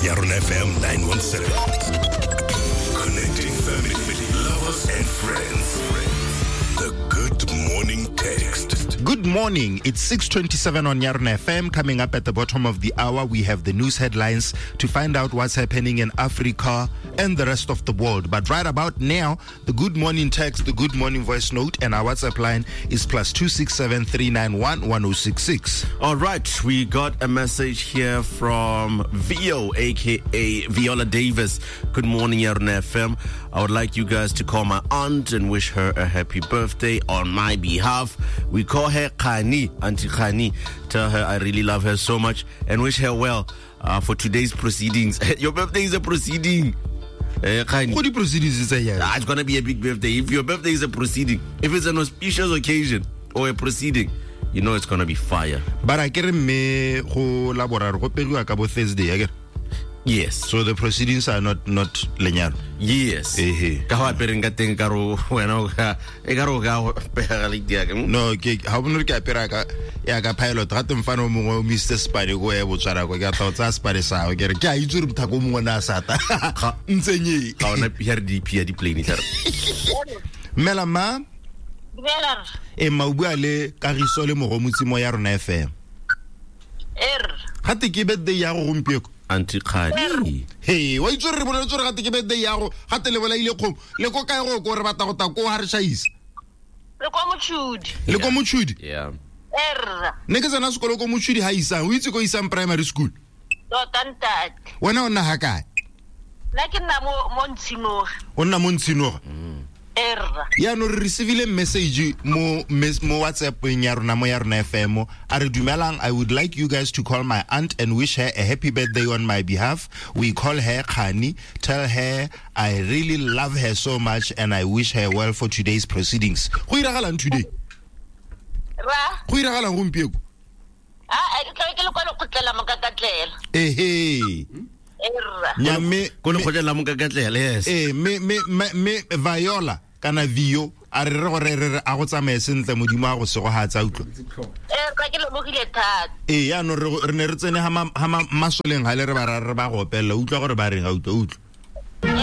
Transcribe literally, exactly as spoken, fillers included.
Yarona F M nine one seven. Connecting family, lovers and friends. The Good Morning Text. Good morning. It's six twenty-seven on Yarona F M. Coming up at the bottom of the hour, we have the news headlines to find out what's happening in Africa and the rest of the world. But right about now, the Good Morning Text, the Good Morning Voice Note, and our WhatsApp line is plus two six seven three nine one one oh six six. All right, we got a message here from Vio, aka Viola Davis. Good morning, Yarona F M. I would like you guys to call my aunt and wish her a happy birthday on my behalf. We call her Khani, Auntie Khani. Tell her I really love her so much and wish her well uh, for today's proceedings. Your birthday is a proceeding. Uh, Khani. What do proceedings is that? Ah, it's gonna be a big birthday. If your birthday is a proceeding, if it's an auspicious occasion or a proceeding, you know it's gonna be fire. But I get me go laborar go pegiwa ka bo Thursday, I get. Yes. So the proceedings are not not lenyalo. Yes. Ehe. Ka ho apereng ka teng ka ro wena o ka e ka ro ka pega le dia ka. No, ke ha bona ke apera ka ya ka pilot ga teng fano mongwe o Mister Spade go ya Botswana go ke tla o tsaya Spade sa ke re ke a itse re mothako mongwe na sata. Ntsenye. Ga ona P R D P ya di plane tla. Mela ma. Dumela. E ma o bua le Kagiso le Mogomotsi mo ya rona F M. Er. Ga te ke birthday ya go gompieko. Auntie Khani. Hey, wa itse re boletse re gate ke birthday ya go, gate le bolaile kgomo. Le ko kae go ko re batla go ta ko ha re shaisa. Le kwa Mochudi. Le kwa Mochudi? Yeah. Er. Ne ke tsena sekolo ko Mochudi ha isang, o itse ko isang primary school. Tota ntate. Wena o nna ha kae? Nna ke nna mo mo Ntshinoga. O nna mo Ntshinoga? Er. Ya no re receivile message mo mo WhatsApp ya rona mo ya rona F M. A re dumelang, I would like you guys to call my aunt and wish her a happy birthday on my behalf. We call her Khani. Tell her I really love her so much and I wish her well for today's proceedings. Go iragalang today? Ra. Go iragalang gompieko? Ah, ke tla ke le kwa lekgotla la Mokakatlela. Ehe. Erra. Mme ko lekgotla la Mokakatlela, yes. Eh, me me me Viola kana Vio a re re gore re re a go tsamaye sentle modimo a go segohatsa utlwa. Eh, ka ke lebogile thata. Eh, ya no re re ne re tsene ha ma masoleng ha le re ba re ba go opella utlwa gore ba reng a utlwa utlwa.